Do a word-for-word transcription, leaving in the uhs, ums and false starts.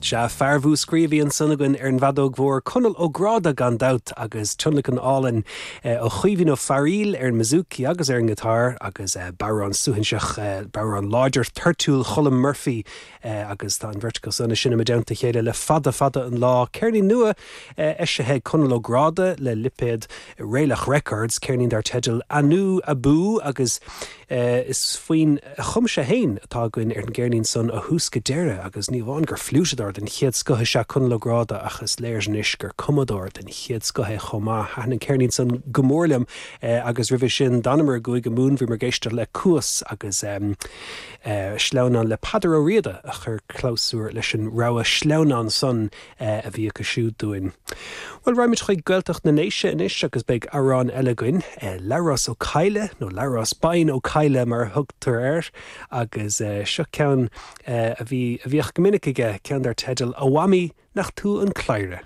Sea, fear Mhúscraí a bhí ansan againn ar an bhfeadóg mhór Conall Ó Gráda gan dabht agus tionlacan álainn eh, ó Chaoimhín Ó Fearaíl ar an mbouzouki agus ar an ngiotár agus eh, bodhrán suaithinseach eh, bodhrán láidir toirtiúil Cholm Murphy agus tá an bheirt acu san sin i dteannta a chéile le fada fada an lá. Ceirnín nua eisithe ag Conall Ó Gráda le lipéad Raelach Records, ceirnín dar teideal Anú Abú agus is foinn a chum sé féin atá againn ar an gceirnín san ó thús go deireadh agus ní amháin gur fliúiteadóir den chéad scoth is ea Conall Ó Gráda ach is léir anois gur cumadóir den chéad scoth é chomh maith. Thaitin an ceirnín san go mór liom agus roimhe sin d'fhanamar i gCúige Mumhan bhíomar ag éisteacht le Cuas agus um, uh, sleamhnán le Peadar Ó Riada a chur clabhsúr leis an rogha sleamhnán san uh, a bhí acu siúd dúinn. Well raghaimid chuig Gaeltacht na nDéise anois agus beidh amhrán eile againn uh, Labhrás Ó Cadhla nó Labhrás Bain Ó Cadhla mar a thugtar air agus uh, seo ceann uh, a bhí a bhíodh go minic aige ceann dar teideal A Mhamaí nach tú an cladhaire.